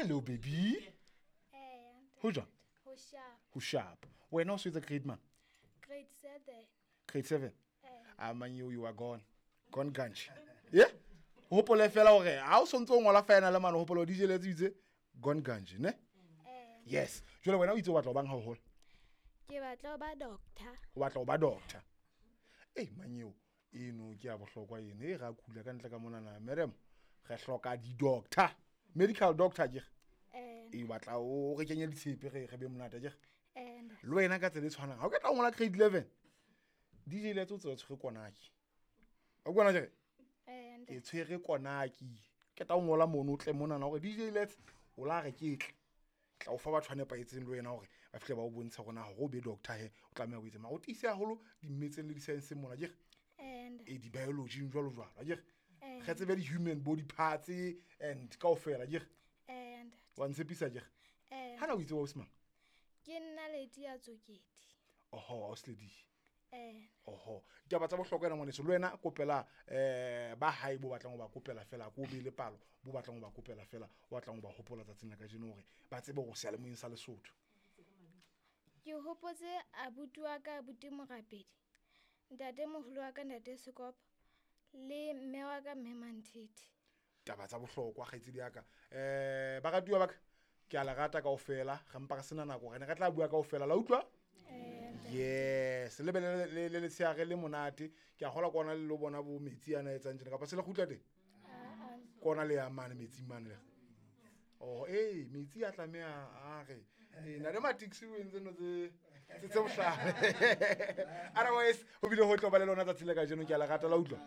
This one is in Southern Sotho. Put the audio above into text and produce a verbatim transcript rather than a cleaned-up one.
Hello baby. Eh, Ho jwang? Ho sharp. Ho sharp. Wena o swetsa grade man? Grade seven. Grade seven. Eh. A man you you are gone. Gone ganch. Yeah? Hopole fela hore ha o sontso o ngola final mane hopole D J Letse itse gone ganch, ne? Eh. Yes. Jwale wena o itse o batla ho bang ha o hola? Ke batla ho ba doctor. O batla ho ba doctor. Ei manyeo, eno ke ya bohlokwa eno e ra kula ka ntle ka monana madam. Re hloka di doctor. Medical doctor ke. Eh. E batla o re kenye ditshepe re re be monate ke. Eh. Le wena ka tsela e tshwanang. Ha o ka tla ngola grade eleven. D J Letse o tswe tshwere konaki. O kwana ke? Eh. E tshwere konaki. Ke tla ngola mono o tle monana hore D J Letse o la re ke tle. Tla o fa batho ba nepahetseng le wena hore ba fihle ba o bontshe hore na hore o be doctor he o tlameha ho etsa. Mara o tiise haholo di-maths le di-science mona ke. Eh. E di-biology jwalo jwalo ke. Eh. Re tsebe di-human body parts and kaofela ke. Eh. Wa ntshepisa ke. Eh. Hana o itse wa Osman? Ke nna Lady ya Tsokedi. Oho, ausi Lady. Eh. Oho, ditaba tsa bohlokwa ena ngwaneso le wena kopela eh ba hae bo batlang ho ba kopela fela ko be le palo bo batlang ho ba kopela fela o batlang ho ba hopola tsatsing la kajeno hore ba tsebe hore seyalemoyeng sa Lesotho. Ke hopotse abuti wa ka abuti Morapedi, ntate moholo wa ka ntate Sekopo le mme wa ka mme Manthethe. Taba tsa bohlokwa kgaitsedi ya ka. Eh baratuwa ba ka ke a le rata kaofela, re mpa re sena nako re ne re tla bua kaofela la utlwa? Yes, le be le le le letsheare le monate. Ke a kgolwa kona le lo bona bo metsi ana etsang tjena kapa se le kgutla teng? Kona le ya mane metsi mane le. Oh, eh metsi a tlameha a re. Eh na le matixi o entse no tse tse tse bohlale. Otherwise ho bile ho tlo ba le lona tsatsi le kajeno ke a le rata la utlwa.